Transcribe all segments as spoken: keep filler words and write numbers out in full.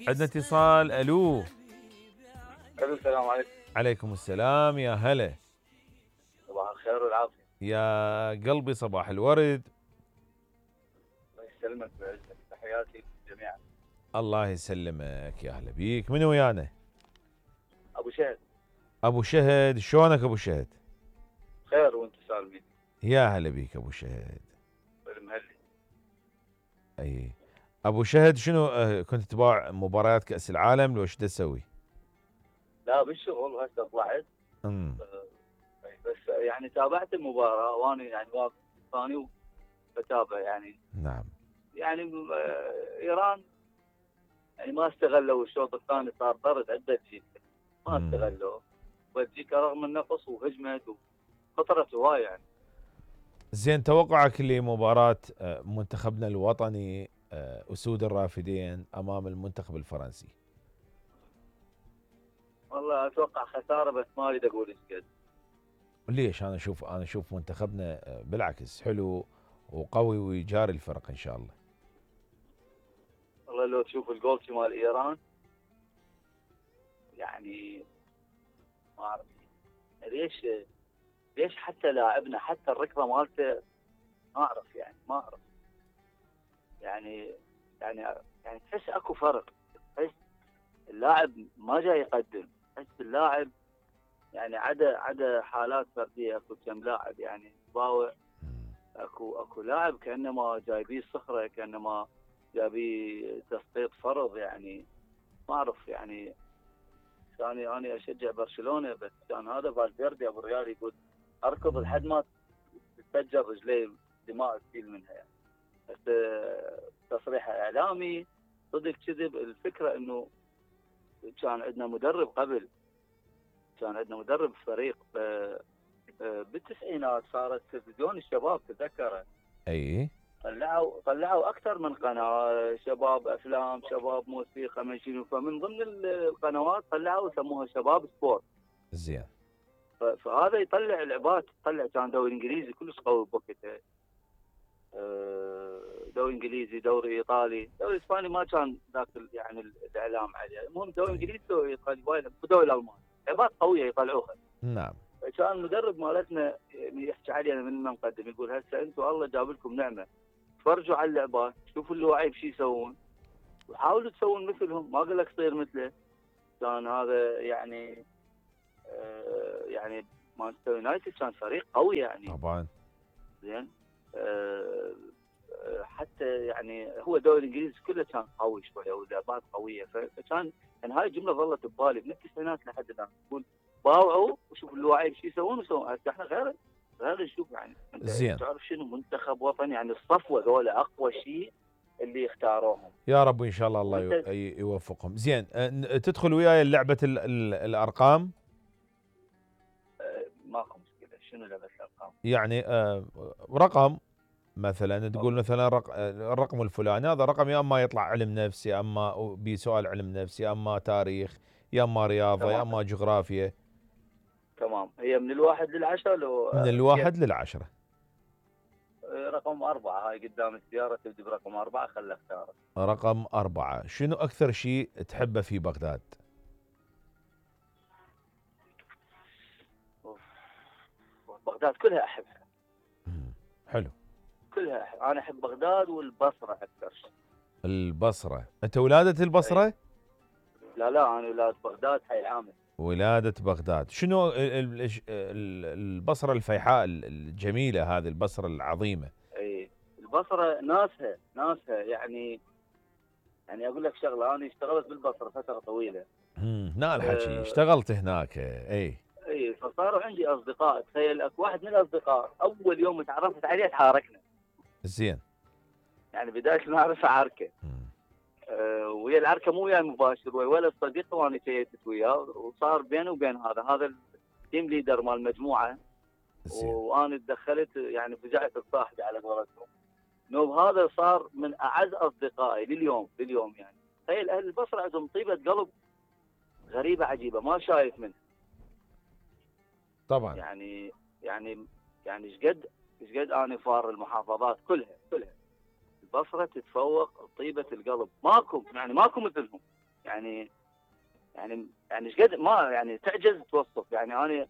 عندنا اتصال. الو. الو السلام عليكم. عليكم السلام، يا هلا. صباح الخير والعافيه. يا قلبي صباح الورد. الله يسلمك ويعزك، تحياتي جميعا. الله يسلمك، يا هلا بيك. من ويانا؟ ابو شهد. ابو شهد، شلونك ابو شهد؟ خير وانت سالمين. يا هلا بيك ابو شهد. المهلي. اي ابو شهد، شنو آه، كنت تتابع مباريات كاس العالم لو ايش تسوي؟ لا بالشغل وهسه طلعت. امم بس يعني تابعت المباراه وانا يعني واقف ثاني بتابع يعني. نعم. يعني آه، ايران يعني ما استغلوا الشوط الثاني، صار طرد عده جيل ما مم. استغلوا. بلجيكا رغم النقص وهجمت وخطرت هواي يعني. زين، توقعك لمباراة آه، منتخبنا الوطني آه، أسود الرافدين أمام المنتخب الفرنسي؟ والله اتوقع خساره، بس ما اريد اقول ايش قد. ليش؟ أنا أشوف أنا أشوف منتخبنا آه، بالعكس حلو وقوي ويجاري الفرق إن شاء الله. والله لو تشوف الجول مال ايران يعني ما اعرف ليش ليش حتى لاعبنا حتى الركضه مالته ما اعرف يعني ما اعرف يعني يعني يعني تحس اكو فرق. تحس اللاعب ما جاي يقدم، تحس اللاعب يعني عدا عدا حالات فرديه اكو كم لاعب يعني باوع. مم. اكو اكو لاعب كانما جايبيه صخره، كانما جايبيه تسقيط فرض يعني ما اعرف يعني. ثاني انا اشجع برشلونه، بس كان هذا فالفيردي ابو الريال يقول اركض لحد ما تتفجر رجلي دماء تسيل منها يعني. بس تصريح اعلامي صدق كذب. الفكره انه كان عندنا مدرب قبل، كان عندنا مدرب فريق بالتسعينات، صارت تلفزيون الشباب تذكره. أي طلعوا طلعوا اكثر من قناه، شباب افلام، شباب موسيقى، من شنو، فمن ضمن القنوات طلعوا سموها شباب سبورت. زين. فهذا يطلع لعبات، يطلع كان دوري انجليزي كلش قوي بوقتها، دوري انجليزي، دوري ايطالي، دوري اسباني ما كان ذاك يعني الاعلام عليه. المهم دوري انجليزي، دوري ايطالي، ودوري الالماني لعبات قويه يطلعوها. نعم. كان المدرب مالتنا يحكي علينا من المقدم يقول هسه انتم الله جاب لكم نعمه، تفرجوا على اللعبات، شوفوا اللواعيب شو يسوون وحاولوا تسوون مثلهم، ما اقول لك تصير مثله. كان هذا يعني آه يعني مانشستر يونايتد كان فريق قوي يعني. طبعا. زين. آه حتى يعني هو الدوري الانجليزي كله كان قوي شويه ولعبات قويه، فكان يعني هاي الجمله ظلت ببالي من التسعينات لحد الان. تقول باوعوا وشوفوا اللاعبين شو يسوون ويسوون. هسه احنا غير غير نشوف يعني. انت زين. تعرف شنو منتخب وطني يعني الصفوه ذولا اقوى شيء اللي اختاروهم. يا رب إن شاء الله الله وانت ي- يوفقهم. زين، آه، تدخل وياي لعبة ال- ال- الأرقام. آه ماكو مشكله. شنو لعبه الارقام؟ يعني آه، رقم مثلا تقول أوكي. مثلا رق... الرقم الفلاني هذا رقم، يا اما يطلع علم نفس، يا اما بسؤال علم نفس، يا اما تاريخ، يا اما رياضه، يا تمام اما جغرافيا. تمام. هي من الواحد للعشره لو من آه كيف؟ الواحد للعشره. آه رقم اربعه. هاي قدام السياره تبدي برقم اربعه، خلها اختاره. رقم أربعة. شنو أكثر شيء تحبه في بغداد؟ بغداد كلها احبها. مم. حلو. كلها أحب. انا احب بغداد والبصره اكثر شيء. البصرة. أنت ولادة أي. البصرة؟ لا لا انا ولاد بغداد حي عامر. ولادة بغداد. شنو ال- ال- ال- البصرة الفيحاء الجميلة، هذه البصرة العظيمة؟ اي البصره ناسها ناسها يعني. يعني اقول لك شغله، انا اشتغلت بالبصره فتره طويله. مم. هنا الحكي أه اشتغلت هناك. اي. اي فصاروا عندي اصدقاء. تخيل اكو واحد من الاصدقاء اول يوم تعرفت عليه تحاركنا. زين. يعني بدايه المعرفه عركه. مم. أه ويا العركه مو ويا المباشر، ويا ولد صديقه وانا شيتت وياه، وصار بيني وبين هذا هذا التيم ليدر مال المجموعه. زين. وانا تدخلت يعني فجعت الصاحبي على قولتهم. نوب هذا صار من اعز اصدقائي لليوم لليوم يعني. تخيل اهل البصره عندهم طيبه قلب غريبه عجيبه ما شايف منها. طبعا. يعني يعني يعني ايش قد ايش قد انا فار المحافظات كلها كلها البصره تتفوق طيبه القلب. ماكو يعني ماكو مثلهم. يعني يعني يعني ايش قد ما يعني تعجز توصف. يعني انا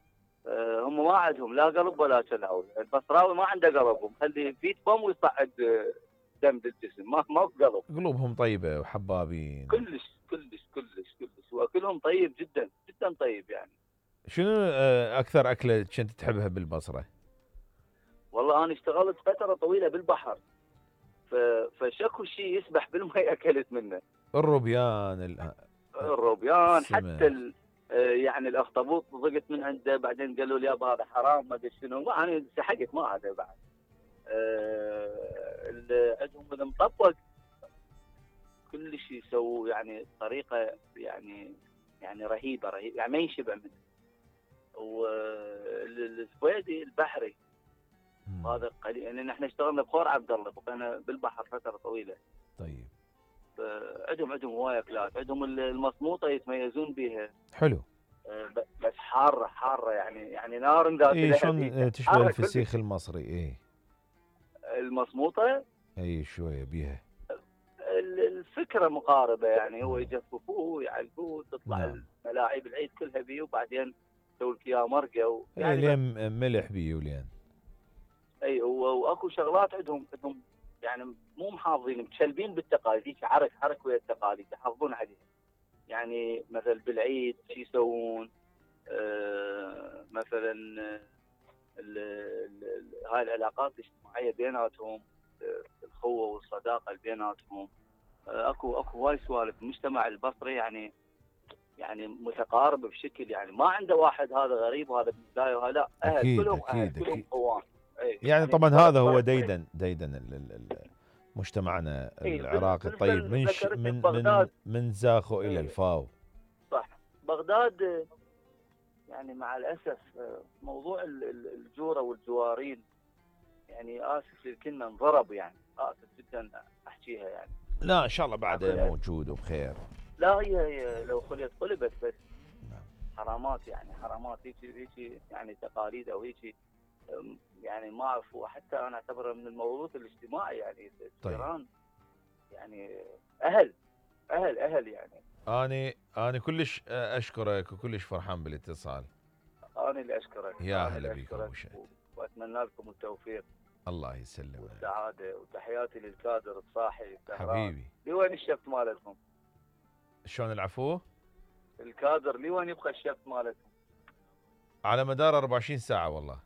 آه، هم ما عندهم لا قلب ولا كلاوي. البصراوي ما عنده قلب، ومخلي فيت بوم ويصعد آه، دم بالجسم، ما ما بقلب. قلوبهم طيبه وحبابين. كلش كلش كلش كلش، واكلهم طيب جدا جدا طيب يعني. شنو آه، اكثر اكله كنت تحبها بالبصره؟ والله انا اشتغلت فتره طويله بالبحر، ف- فشكو شيء يسبح بالماء اكلت منه. الروبيان ال- الروبيان، حتى السمك. ال- آه، يعني الاخطبوط ضقت من عنده، بعدين قالوا لي يابا هذا حرام ما ادري شنو، ما انا سحقت ما هذا بعد. آه، ال- عندهم المطبق كل شيء يسووه يعني بطريقه يعني يعني رهيبه رهيبه، يعني ما ينشبع منه. والسويدي البحري مم. هذا قليل، يعني نحن اشتغلنا بخور عبد الله، بقينا بالبحر فتره طويله. طيب. عندهم عندهم هوايه اكلات، عندهم المصموطه يتميزون بها. حلو. آه، ب- بس حاره حاره يعني يعني نار ذات اي لهب، شلون هيك آه، تشبه حاره الفسيخ كلش. المصري. اي المصموطه اي شويه بيها. ال- الفكره مقاربه، يعني هو يجففوه ويعلقوه تطلع نعم. الملاعب العيد كلها بيه، وبعدين يسوي لك اياه مرقه و- اي يعني بس. لين ملح بيه ولين. اي و- واكو شغلات عندهم عندهم يعني مو محافظين، متشلبين بالتقاليد، هيك عرك عرك ويا التقاليد يحافظون عليها. يعني مثلا بالعيد شو يسوون؟ آه مثلا ال- ال- ال- هاي العلاقات الاجتماعيه بيناتهم، آه، الخوه والصداقه اللي بيناتهم. آه، اكو اكو هواي سوالف. المجتمع البصري يعني يعني متقارب بشكل، يعني ما عنده واحد هذا غريب وهذا من البدايه وهذا لا، اهل اكيد كلهم اهل اكيد كلهم اكيد. قوام. أي يعني طبعا فرق- هذا هو فرق ديدن ديدن ال- ال- ال- مجتمعنا اي بال- العراقي الطيب بالفيلم من ش ذكرتني من من ببغداد. من زاخو الى اي الفاو. صح. بغداد آه، يعني مع الاسف آه، موضوع ال- ال- الجوره والجوارين، يعني اسف للكلمه انضرب، يعني اسف جدا احكيها يعني. لا ان شاء الله بعده عفوا. موجود وبخير. لا هي, هي لو خليت قلبت بس نعم. حرامات، يعني حرامات هيك هيك يعني تقاليد او هيك، أم، يعني ما اعرف. وحتى انا اعتبره من الموروث الاجتماعي، يعني طيب. الجيران يعني اهل اهل اهل يعني. اني اني كلش اشكرك وكلش فرحان بالاتصال. انا اللي اشكرك. يا انا هلا اللي بك ابو اشكرك شهد. و- واتمنى لكم التوفيق الله يسلمك والسعاده، وتحياتي للكادر الصاحي السهران. حبيبي. لوين الشفت مالتهم؟ شلون العفو؟ الكادر لوين يبقى الشفت مالتهم؟ على مدار أربعة وعشرين ساعة والله.